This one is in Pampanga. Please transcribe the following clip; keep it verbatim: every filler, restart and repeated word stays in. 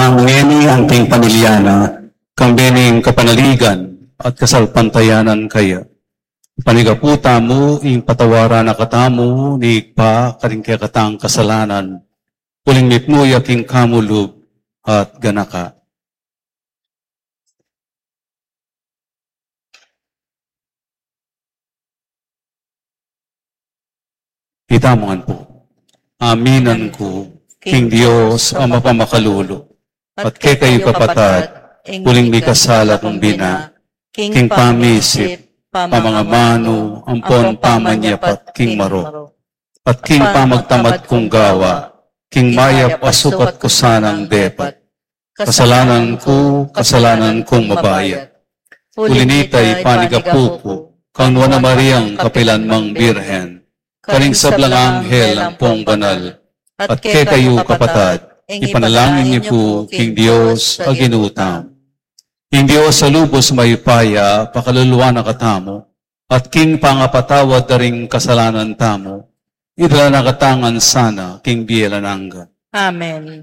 Ngeni anting pamilya na, kambe ning kapanaligan at kasalpantayanan kaya. Panigapu tamu, ing patawaran na katamu ni Ibpa karing kekatang kasalanan, uling mipnu ya king kamu lub at ganaka. Itamu ngan pu. Aminan ku king Dios a mapamakalulu, at kekayu kapatad, uling mikasala kung bina, king pamisip, pamangamanu, ampon pamanyapat king marok, at king pamagtamad kung gawa, king mayap a sukat ku sanang depat. Kasalanan ku, kasalanan kung mabayat. Uli nita, ipanigapu ku kang Nuan a Mariang kapilan mang Birhen, karing sablang anghel ampong banal, at kekayu kapatad, ipanalangin yu pu king Dios a Ginu tamu. Ing Dios a lubos mayupaya pakaluluan na katamu, at king pangapatawad da ring kasalanan tamu, idala na katamu ngan sana king bie alang angga. Amen.